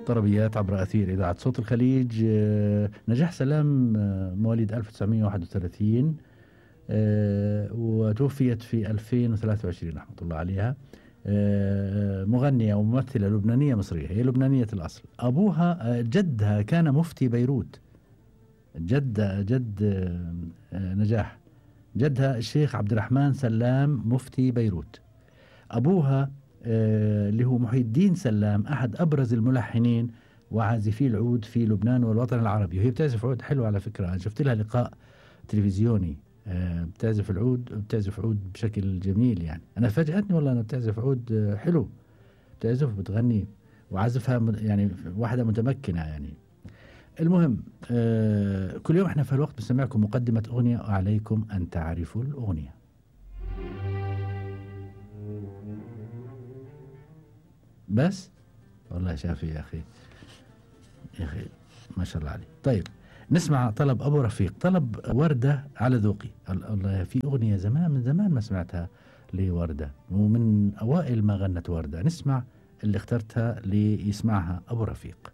طربيات عبر أثير إذاعة صوت الخليج. نجاح سلام مواليد 1931، وتوفيت في 2023 رحمة الله عليها. مغنية وممثلة لبنانية مصرية، هي لبنانية الأصل. أبوها جدها كان مفتي بيروت، جد نجاح، جدها الشيخ عبد الرحمن سلام مفتي بيروت. أبوها اللي هو محي الدين سلام أحد أبرز الملحنين وعازفي العود في لبنان والوطن العربي، وهي بتعزف عود حلو على فكرة. أنا شفت لها لقاء تلفزيوني، بتعزف العود، بتعزف عود بشكل جميل. يعني أنا فاجأتني والله أنها بتعزف عود حلو، بتعزف وبتغني وعزفها يعني واحدة متمكنة يعني. المهم كل يوم احنا في الوقت بنسمعكم مقدمة أغنية وعليكم أن تعرفوا الأغنية. بس والله شافي يا أخي، يا أخي ما شاء الله عليه. طيب نسمع طلب أبو رفيق، طلب وردة على ذوقي. الله، في أغنية زمان من زمان ما سمعتها لوردة، ومن أوائل ما غنت وردة. نسمع اللي اخترتها ليسمعها أبو رفيق.